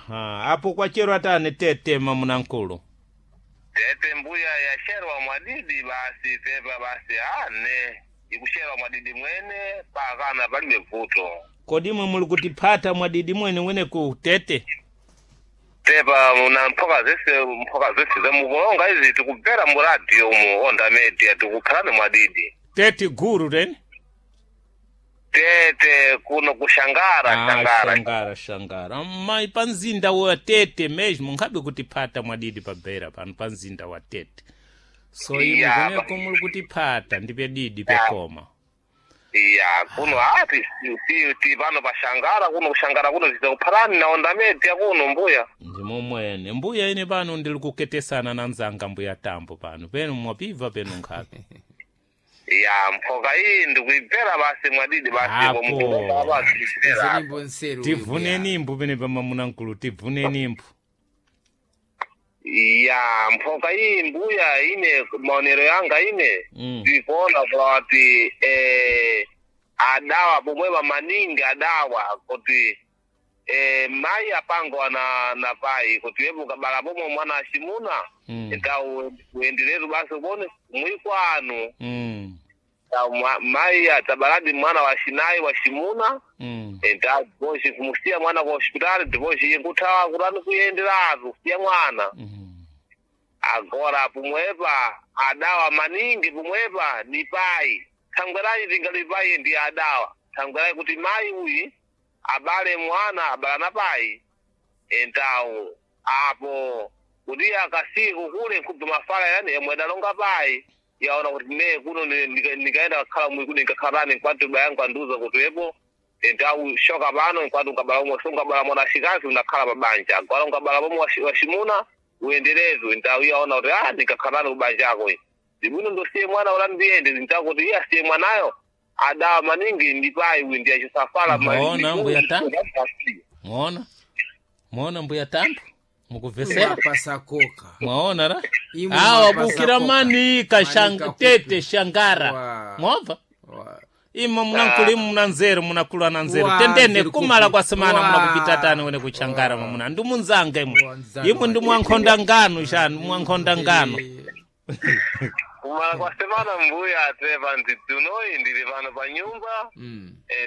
Aha, apo kwacherwa tani tete mamunankulu. Tete mbuya yasherwa mwadidi basi tepa basi ane ikusherwa mwadidi mwene pakana palibe vuto. Kodi imwe muli kutiphata mwadidi mwene wene ku tete? Tepa muna mphoka zese zamukulonga izi tikubvera mu radio mu Onda Media tikukhalani mwadidi. Tete guru teni? Tete kuno kushangara. Ah, shangara. Shangara, shangara. Mai pa mzinda wa tete mesmo nkhabe kutiphata mwadidi pabera pano pa mzinda wa tete. So imwe kweneko muli kutiphata ndipe didi pekoma. Iya, kuno ati si pano pa shangara kuno kushangara kuno titakuphalani na Onda Media kuno mbuya. Ndimo mwene mbuya ine pano ndili kuketesana na nzanga mbuya tambo pano penu mwapibva penu nkhabe. Ya, mphoka iyi ndikuibvera basi mwadidi basi. Apo. Komukulonga basi ibvera. Zenimbo nseru. Tivune nimbu pene pamamunankulu, tivune nimbu. Ya, mphoka iyi mbuya ine maonero yanga ine ndikuona kuti adawa pomwepa maningi adawa kuti mayi apango ana na pai kuti wepo ukabala pomwe mwana achimuna ndau uenderetu basi upone mwikwanu. Ndau mayi atabaladi mwana wa chinayi wa chimuna. Enda kumusiya mwana ku hospitali divoshi inkuthawa kutani kuyenderatu kusiya mwana. Agora pomwepa adawa maningi pomwepa ni pai thangwerayi tingali pai ndi adawa thangwerayi kuti mayi uyi abale mwana abala na pai entawu apo kuti akasiku kule nkubva mafala yani yomwe adalonga pai yaona kuti ne kuno ndikaenda kukhala mwi kuno ndikakhalani nkwati bayangu andiuza kuti wepo entawu shoka pano nkwati unkabala umwe so unkabala mwana wachikazi unakhala pabanja agora unkabala pomwe wachimuna uenderezu ntawu yaona kuti a ndikakhalani kubanjako ndibwino ndosiye mwana ula ndiyende ntakuti iye asiye mwanayo adawa maningi ndipayi uyu ndiye achisafala. Mwaona, mbuya Tambo? Mwaona, mwaona mbuya tambo mukuvesera? Mapasakoka. Mwaona ra Imwe awa mapasa bukira koka. manika. Manika kupi. Tete shangara. Wa. Mwobva Wa. imwe munankulu, imwe muna nzeru, munakulu ana nzeru. Wa, Tendene nzeru kumala kupi. kwa semana. Wa. Munakupita tani wene kuchangara mamuna ndi munzanga imwe. Wa, nzanga. Imwe ndi mwankhonda ngano shanu mwankhonda ngano. Kumala kwa semana mbuya tepa ndzidzunoyi ndili pano pa nyumba.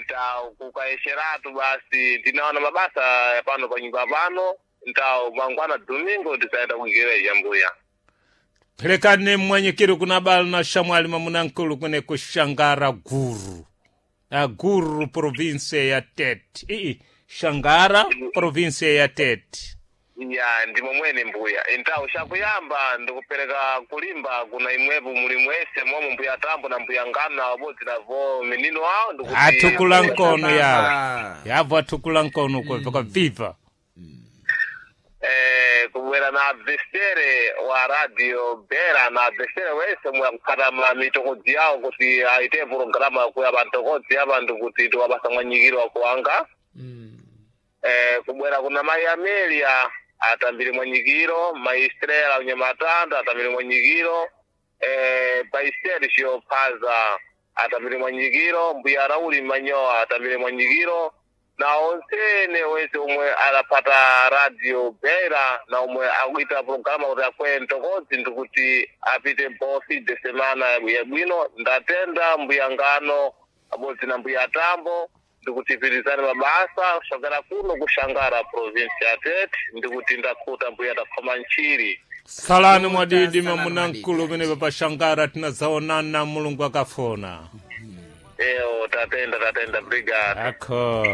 Ntawu kukayesheratu basi ndinaona mabasa ya pano pa nyumba pano ntawu mangwana domingo tisaenda kuigereja mbuya. Pelekane mwanyikiro kuna bala na shamwali mamunankulu kwene kushangara guru aguru province ya tete ii shangara province ya tete. Ya, ndimo mwene mbuya ntawu shakuyamba ndikupereka kulimba kuna imwepo muli mwese momwe mbuya tambo na mbuya ngano abodzi navo minino awo ndikuti Atukula nkono yawo. Baba. Yavo atukula nkono kweveka viva. Kubwera na abvesere wa radio bera na abvesere wese mwakukhata ma mitokodzi yawo kuti aite purogirama kuya pantokodzi apa ndikuti tiwapasa mwanyikiro wakuwanga. Kubwera kuna mayi Amelia atambire mwanyikiro, mayi Estrela unyamatanda atambire mwanyikiro, pai Sergio Phaza atambire mwanyikiro, mbuya Rauli Manyoa atambire mwanyikiro na onsene wese omwe adapata radio bera na omwe akuita programa kuti akweye mtokodzi ndikuti apite bofi de semana yabwino. Ndatenda mbuya ngano abodzi na mbuya tambo ndikuti pirizani mabasa kushangara kuno kushangara provinsi ya Tete ndikuti ndakhuta mbuya takhoma ntchiri. Salani mwadidi. Salani. Mamunankulu. Mwadidi. Pene papashangara tinazaonana mulungu akafona. Ewo, tatenda, tatenda, brigade. Akho.